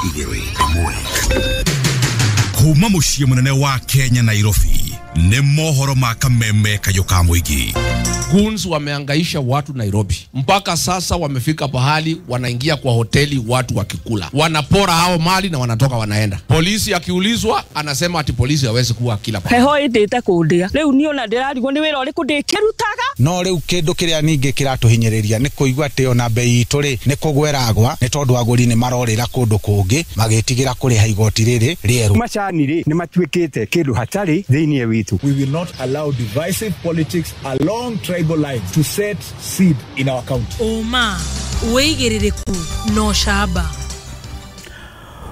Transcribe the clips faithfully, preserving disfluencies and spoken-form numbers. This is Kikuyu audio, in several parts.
Igĩrĩ ĩmwe kuma mũciĩ mũnene wa Kenya, Nairobi, nĩ mohoro ma kameme kayũ ka mũingĩ. Goons wameangaisha watu Nairobi mpaka sasa wamefika pahali wanaingia kwa hoteli watu wakikula, wanapora hao mali na wanatoka wanaenda. Polisi akiulizwa anasema ati polisi hawezi kuwa kila pahali. Heho ĩndĩte kũndĩa rĩu niĩ ona ndĩrarigwo nĩ wĩra ũrĩkũ ndĩkĩrutaga. No rĩu kĩndũ kĩrĩa ningĩ kĩratũhinyĩrĩria nĩ kũigua atĩ ona bei itũ rĩ nĩ kũgweragwa, nĩ tondũ agũri nĩ marorĩra kũndũ kũngĩ magĩtigĩra kũrĩha igoti rĩrĩ rĩerũ. Macani rĩ nĩ matuĩkĩte kĩndũ hatarĩ thĩinĩ witũ. We will not allow divisive politics along tribal lines to set seed in our county. Ũma wĩigĩrĩrĩku no camba.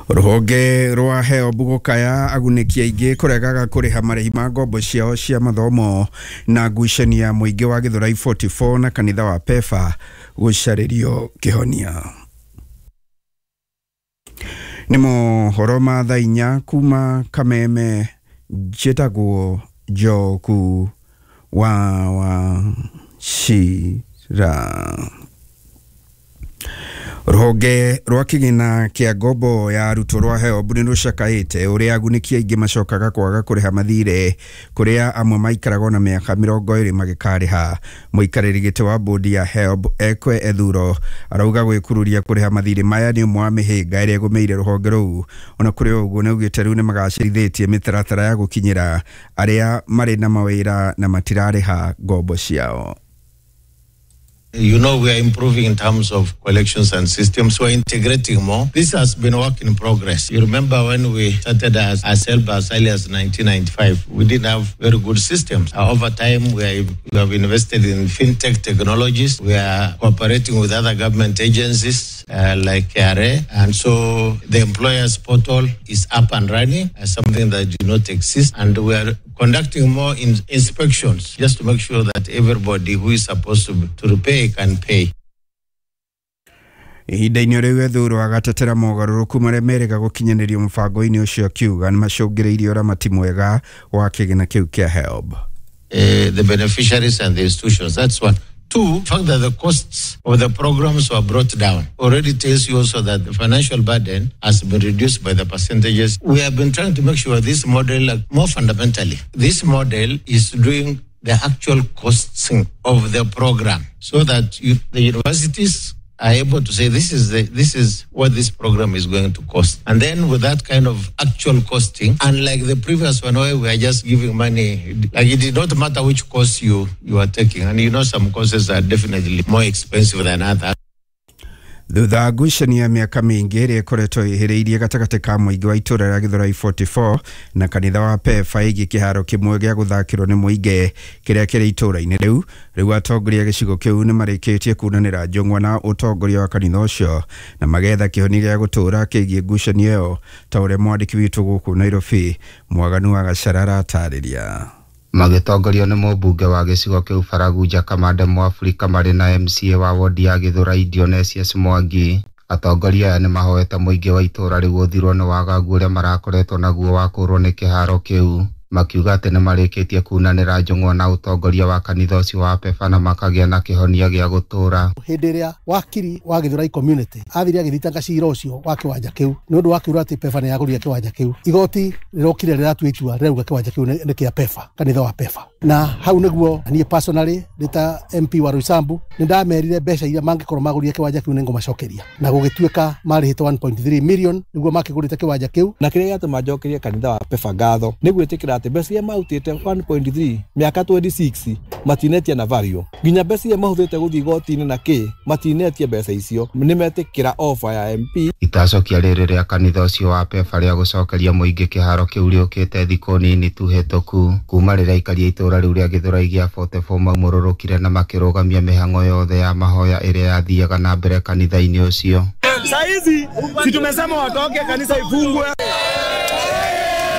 Rũhonge rwa HELB gũkaya agunĩki aingĩ kũregaga kũrĩha marĩhi ma ngombo ciao cia mathomo, na ngucanio ya mũingĩ wa Gĩthũrai mĩrongo ĩna na inya na kanitha wa PEFA gũcarĩrio kĩhonia. Nĩ mohoro ma thaa inya kuma Kameme, njĩtagwo Njoku wa Wachira. Rũhonge rwa kĩgĩna kĩa ngombo ya arutwo rwa HELB nĩ rũcakaĩte ũrĩa agunĩki aingĩ macokaga kwaga kũrĩha mathirĩ, kũrĩa amwe maikaraga na mĩaka mĩrongo ĩrĩ magĩkarĩha. Mũikarĩri gĩtĩ wa bodi ya HELB Ekwe Ethuro arauga gwĩkururia kũrĩha mathirĩ maya nĩ ũmwe wa mĩhĩnga ĩrĩa ĩgũmĩire rũhonge rũu. Ona kũrĩ ũguo, nĩ augĩte rĩu nĩ magacĩrithĩtie mĩtaratara ya gũkinyĩra arĩa marĩ na mawĩra na matirarĩha ngombo ciao. You know, we are improving in terms of collections and systems. We're integrating more. This has been a work in progress. You remember when we started as, as HELB as early as nineteen ninety-five, we didn't have very good systems. Uh, over time, we, are, we have invested in fintech technologies. We are cooperating with other government agencies uh, like K R A. And so the employers portal is up and running as something that did not exist. And we are conducting more in inspections just to make sure that everybody who is supposed to, to repay can pay. Ihinda-inĩ rĩu, Ethuro agatetera mogarũrũku marĩa merĩga gũkinyanĩrio mũbango-inĩ ũcio, akiuga nĩ macũngĩrĩirie ũramati mwega wa kĩgĩna kĩu kĩa HELB. Uh, the beneficiaries and the institutions. That's one. Two, the fact that the costs of the programs were brought down already tells you also that the financial burden has been reduced by the percentages. We have been trying to make sure this model, like, more fundamentally, this model is doing the actual costing of the program so that you, the universities are able to say this is the this is what this program is going to cost. And then with that kind of actual costing, unlike the previous one where we are just giving money, like, it did not matter which course you you are taking. And you know some courses are definitely more expensive than others. Thutha wa ngucanio ya mĩaka mĩingĩ ĩrĩa ĩkoretwo ĩhĩrĩirie gatagatĩ ka mũingĩ wa itũra rĩa Gĩthũrai mĩrongo ĩna na inya na kanitha wa PEFA ĩgiĩ kĩharo kĩmwe gĩa gũthakĩrwo nĩ mũingĩ kĩrĩa kĩrĩ itũra-inĩ rĩu, rĩu atongoria a gĩcigo kĩu nĩ marĩkĩtie kunanĩra njũng'wa na ũtongoria wa kanitha ũcio na magetha kĩhonia gĩa gũtũũra kĩgiĩ ngucanio ĩyo, ta ũrĩa mwandĩki witũ gũkũ Nairobi Mwaganu wa Gacara aratarĩria. Magĩtongorio nĩ mũmbunge wa gĩcigo kĩu Baragunja Kamande Mũafrika marĩ na M C A wa wodi ya Gĩthũrai Dionysius Mwangi, atongoria aya nĩ mahoete mũingĩ wa itũũra rĩu ũthirwo nĩ wagagu ũrĩa marakoretwo naguo wa kũrwo nĩ kĩharo kĩu, makiuga atĩ nĩ marĩkĩtie kunanĩra njũng'wa na ũtongoria wa kanitha ũcio wa PEFA na makagĩa na kĩhonia gĩa gũtũũra. Hĩndĩ ĩrĩa wakiri wa Gĩthũrai community athire agĩthitanga cira ũcio wa kĩwanja kĩu nĩ ũndũ wa kiuga atĩ PEFA nĩ yagũrire kĩwanja kĩu, igoti rĩrokire rĩratua itua rĩrauga kĩwanja kĩu nĩ kĩa PEFA, kanitha wa PEFA. Na hau nĩguo niĩ personally ndĩ ta M P wa Roysambu nĩ ndamerire mbeca iria mangĩkorwo magũrire kĩwanja kĩu nĩ ngũmacokeria, na gũgĩtuĩka marĩhĩte one point three million nĩguo makĩgũrĩte kĩwanja kĩu. Na kĩrĩa gĩatũma njokerie kanitha wa PEFA ngatho nĩ gwĩtĩkĩra atĩ mbeca iria marutĩte one point three mĩaka mĩrongo ĩrĩ na ithathatũ matinetia na value, nginya mbeca iria mahũthĩrĩte gũthiĩ igoti-inĩ na kĩ matinetie mbeca icio, nĩ metĩkĩra offer ya M P. Itacokia rĩrĩ rĩa kanitha ũcio wa PEFA rĩa gũcokeria mũingĩ kĩharo kĩu rĩũkĩte thikũ nini tu hĩtũku kuma rĩrĩa aikari a itũũra rĩu rĩa Gĩthũrai gĩa mĩrongo ĩna na inya maumũrũrũkire na makĩrũgamia mĩhang'o yothe ya mahoya ĩrĩa yathiaga na mbere kanitha-inĩ ũcio. Saizi si tumesema watoke, kanisa ifungwe.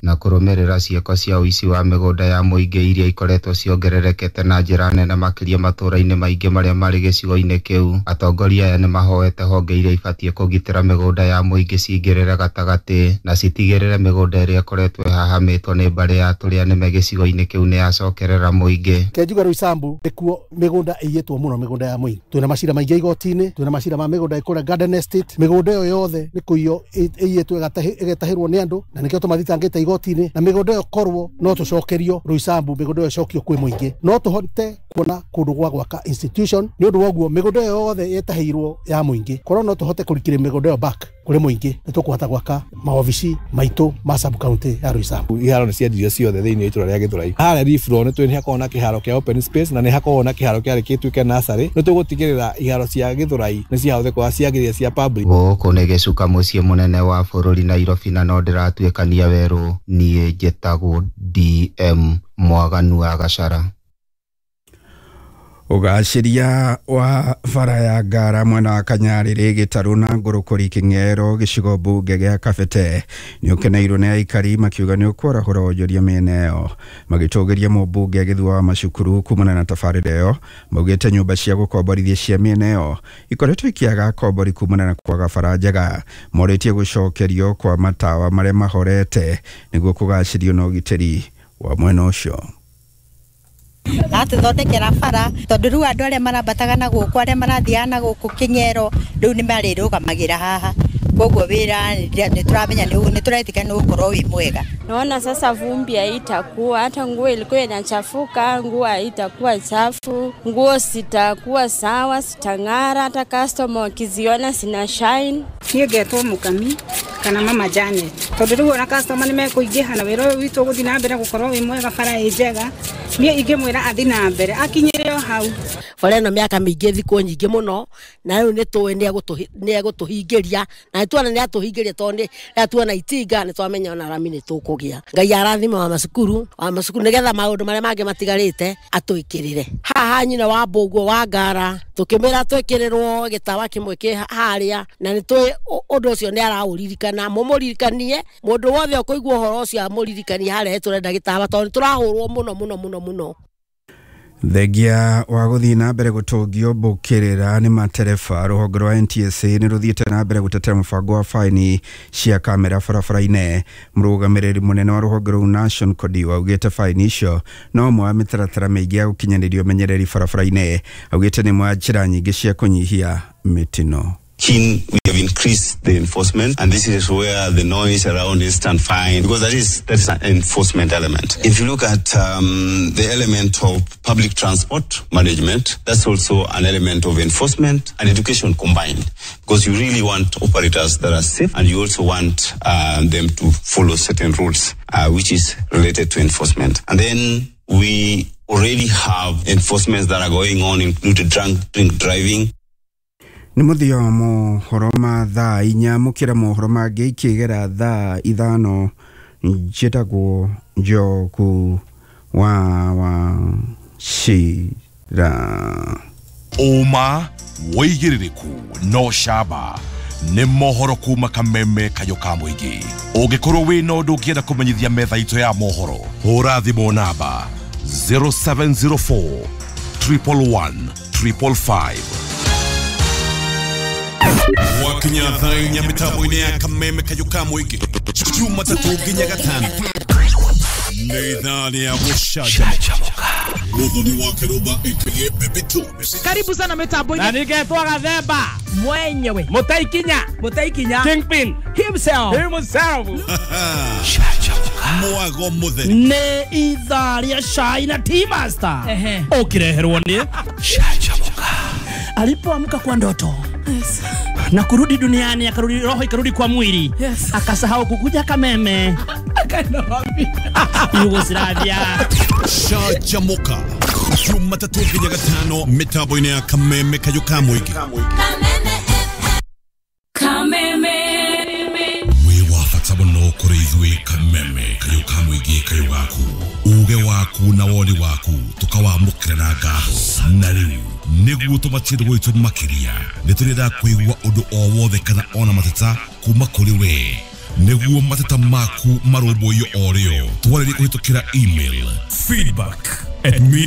Na kũrũmĩrĩra ciĩko cia ũici wa mĩgũnda ya mũingĩ iria ikoretwo ciongererekete na njĩra nene makĩria matũũra-inĩ maingĩ marĩa marĩ gĩcigo-inĩ kĩu. Atongoria aya nĩmahoete honge iria ibatiĩ kũgitĩra mĩgũnda ya mũingĩ cingĩrĩre gatagatĩ na citigĩrĩre mĩgũnda ĩrĩa ĩkoretwo ĩhahamĩtwo nĩ mbarĩ ya tũrĩa nĩme gĩcigo-inĩ kĩu nĩyacokerera mũingĩ. Kenjuga Roysambu nĩkuo mĩgũnda ĩiyĩtwo mũno, mĩgũnda ya mũingĩ. Twĩna macira maingĩ igoti-inĩ, twĩna macira ma mĩgũnda ĩkũrĩa Garden Estate. Mĩgũnda ĩyo yothe nĩ kũiywo ĩiyĩtwo ĩgetahĩrwo nĩ andũ, na nĩkĩo tũmathitangĩte igoti-inĩ. Na mĩgũnda ĩyo korwo no tũcokerio Roysambu, mĩgũnda ĩyo ĩcokio kwĩ mũingĩ, no tũhote kuona kũndũ gwa gwaka institution. Nĩ ũndũ wa ũguo mĩgũnda ĩyo yothe yetahĩirwo ya mũingĩ, korwo no tũhote kũrikĩria mĩgũnda ĩyo back kũrĩ mũingĩ, nĩ tũkũhota gwaka maobici maitũ ma sub county ya Roysambu. Iharo nĩ ciendirio ciothe thĩinĩ wa itũra rĩa Gĩthũrai. Harĩa Rifro nĩ twĩ hakoragwo na kĩharo kĩa open space na nĩ hakoragwo na kĩharo kĩarĩ gĩtuĩke nursery. Nĩ tũgũtigĩrĩra iharo cia Gĩthũrai nĩ ciahũthĩka ciagĩrĩire cia public. Gũkũ nĩ gĩcuka mũciĩ mũnene wa bũrũri Nairobi, na no ndĩratuĩkania werũ. Niĩ njĩtagwo D M Mwaganu wa Gachara. Ũgacĩria wa bara ya Ngara mwena wa Kanyarĩrĩ Gĩtarũ na Ngũrũkũri Kĩng'ero gĩcigo mbunge gĩa Kabete nĩ ũkeneirwo nĩ aikari makiuga nĩ ũkwarahũra wonjoria mĩena ĩyo. Magĩtũgĩria mũmbunge Gĩthua wa Macukuru kumana na tabarĩra ĩyo, maugĩte nyũmba cia gũkomborithia cia mĩena ĩyo ikoretwo ikĩaga akombori kumana na kwaga bara njega. Morĩtie gũcokerio kwa matawa marĩa mahorete nĩguo kũgacĩrio na ũgitĩri wa mwena ũcio. Atuthondekera bara tondu riu andu aria marambataga na guku aria marathiaga na guku King'ero riu ni marirugamagira haha, koguo wira ni turamenya ni turetika ni ukorwo wi mwega. Naona sasa vumbi haitakuwa, hata nguo ilikuwa inachafuka, nguo haitakuwa chafu, nguo sitakuwa sawa, sitang'ara, hata customer wakiziona sina shine. Niĩ ngetwo Mũkami kana Mama Janet, tondu riu ona customer ni mekuingĩha na wĩra ũyũ witũ ũgũthiĩ na mbere gũkorwo wĩ mwega, bara ĩ njega. Niĩ ingĩmwĩra athiĩ na mbere akinyĩre o hau. Bara ĩno mĩaka mĩingĩ thikũ nyingĩ mũno, na rĩu nĩ tũĩ nĩ egũtũhingĩria, na nĩtuona nĩ atũhingĩria tondũ nĩ tuona itinga nĩ twamenya ona rami nĩ tũkũgĩa. Ngai arathime wa macukuru wa macukuru nĩgetha maũndũ marĩa mangĩ matigarĩte atwĩkĩrĩre. Haha nyina wa Mbũguo wa Ngara tũkĩmwĩra twĩkĩrĩrwo gĩtawa kĩmwe kĩ harĩa, na nĩ tũĩ ũndũ ũcio nĩ araũririkana. Mũmũririkanie mũndũ wothe ũkũigua ũhoro ũcio amũririkanie harĩa tũrenda gĩtawa tondũ nĩ tũrahũrwo mũno mũno mũno mũno. Thengia wa gũthiĩ na mbere gũtũngio mbũkĩrĩra nĩ matereba, rũhonge rwa N T S A nĩ rũthiĩte na mbere gũtetera mũbango wa faini cia kamera barabara-inĩ. Mũrũgamĩrĩri mũnene wa rũhonge rũu Nation Kodiwa augĩte faini icio no ũmwe wa mĩtaratara mĩingĩ ya gũkinyanĩria ũmenyereri barabara-inĩ. Augĩte nĩ ĩmwe ya njĩra nyingĩ cia kũnyihia mĩtino. Keen, we have increased the enforcement, and this is where the noise around instant fine, because that is that is an enforcement element. If you look at um, the element of public transport management, that's also an element of enforcement and education combined, because you really want operators that are safe, and you also want uh, them to follow certain rules, uh, which is related to enforcement. And then we already have enforcements that are going on, including drunk drink driving. Nĩ mũthia wa mohoro ma thaa inya, mũkĩra mohoro mangĩ ikĩgera thaa ithano. Njĩtagwo Njogu wa Wachira. Ũma wĩigĩrĩrĩku no camba nĩ mohoro kuma Kameme Kayũ ka mũingĩ. Ũngĩkorwo wĩna ũndũ ũngĩenda kũmenyithia metha itũ ya mohoro, hũra thimũ namba zero seven zero four triple one triple five. Wakinya thaa inya mĩtambo-inĩ ya Kameme Kayũ ka mũingĩ, Jumatatũ nginya Gatano nĩ ithaa rĩa gũcanjamũka. Muthoni wa Kiruba aka Baby Two. Karibu sana mitambo-inĩ. Na ningetwo Gathemba mwenyewe, Mũtaikinya, Mũtaikinya Kingpin himself, himself. Mwago mutheri nĩ ithaa rĩa cai na Tea Master ũkĩreherwo nĩ Canjamũka. Alipoamka kwa ndoto, yes, na kurudi duniani, akarudi roho ikarudi kwa mwili, yes, akasahau kukuja Kameme, akaenda wapi? Yugoslavia. Canjamũka Jumatatũ nginya Gatano mĩtambo-inĩ ya Kameme Kayũ ka mũingĩ. Kameme wĩ wa bata mũno kũrĩ ithuĩ. Kameme Kayũ ka mũingĩ, kayũ gaku, uge waku na woni waku tũkawamũkĩra na ngatho. Na rĩu nĩguo tũmatie gwitũ makĩria, nĩ tũrenda kũigua ũndũ o wothe kana ona mateta kuma kũrĩ we. Nĩguo mateta maku marũmbũiyo o rĩo, twarĩrie kũhĩtũkĩra email feedback at media